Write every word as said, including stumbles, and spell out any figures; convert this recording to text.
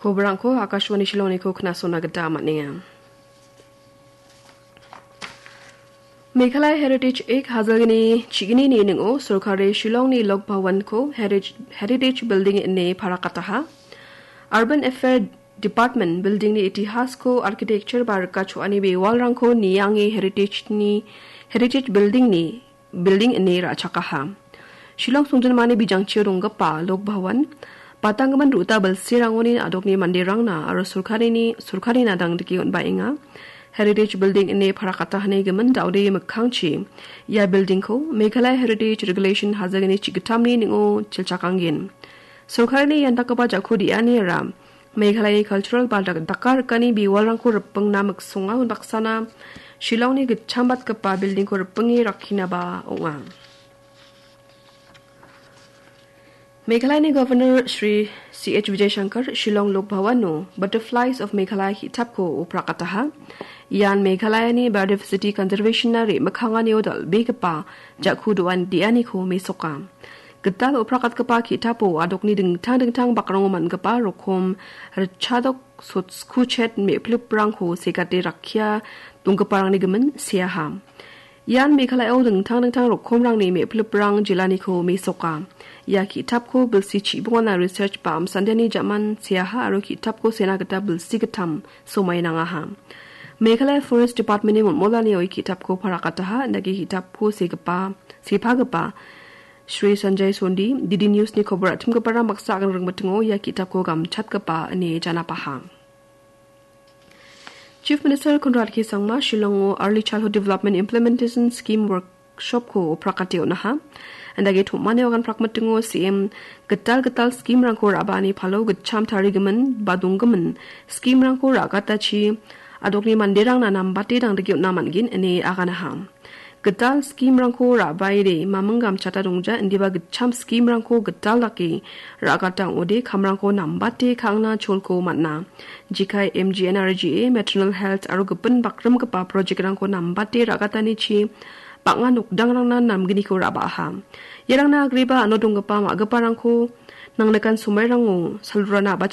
Kobrangko Akashvani Shillongniko knasona gita man·enga. Meghalaya Heritage Act hajalgni chignini ning·o sorkari Shillongni Lok Bhawanko Heritage, Heritage Building ine parakataha. Urban Affair Department buildingni itihasko architecture ba rika cho·ani bewalrangko niange heritage-ni, Heritage Buildingni building ine ra·chakaha. Shillong songjinmani bijangchio donggipa Lok Bhawan, patanggimin ruta bilsirangoni adokni manderangna aro sorkarini, sorkarina dangdike on·baenga. Heritage Building ine parakatahani gimin da·ode mikkangchi ia buildingko Meghalaya Heritage Regulation hajalgni chigitamni ning·o chilchakanggen. Sorkarini ian dakgipa jako de·aniara Meghalaya cultural ba dak-, daka rikani bewalrangko ripengna miksonga, unbaksana Shillongni gitchambatgipa buildingko ripenge rakkinaba ong·a. Meghalayani Governor Shri C H Vijay Shankar Shillong Lok Bhawano Butterflies of Meghalaya ki·tapko oprakataha. Ian Meghalayani Biodiversity Conservation-na re·mikkanganio dal·begipa jako doan de·aniko mesoka. Gital oprakatgipa ki·tapo adokni dingtang dingtang bakrango man·gipa rokom ritchadok sotskuchet me·pliprangko segate rakkia donggiparangni gimin seaha. Ian Meghalayao dingtang dingtang rokomrangni me·pliprang jilaniko mesoka. Ia ki·tapko bilsi chibongana research ba amsandiani jaman seaha aro ki·tapko sena gita bilsi gittam somai nangaha. Meghalaya Forest Department-ni molmolanio ia ki·tapko parakataha, indake ki·tapko segipa, sepagipa Shri Sanjay Sondi, D D News-ni kobor atimgiparang baksa agan ringmitingo ia ki·tapko gamchatgipa ine janapaha. Chief Minister Conrad K Sangma Shillongo Early Childhood Development Implementation Scheme Workshop-ko oprakate on·aha. Indake tom·ani agan prakmitingo C M gital gital scheme-rangko ra·baani palo gitcham tarigimin ba donggimin scheme-rangko ra·gatachi adokni manderangna nambate dangdike on·a man·gen ine aganaha. Gital scheme-rangko ra·baide maming gamchata dongja, indiba gitcham scheme-rangko gital dake ra·gata ong·ode kamrangko nambate ka·angna cholko man·a. Jekai M G N R G A, Maternal Health aro gipin bakrimgipa project-rangko nambate ra·gatanichi bang·a nokdangrangna namgniko ra·baaha. Iarangna agreba ano donggipa ma·giparangko nangnikan somairango salrana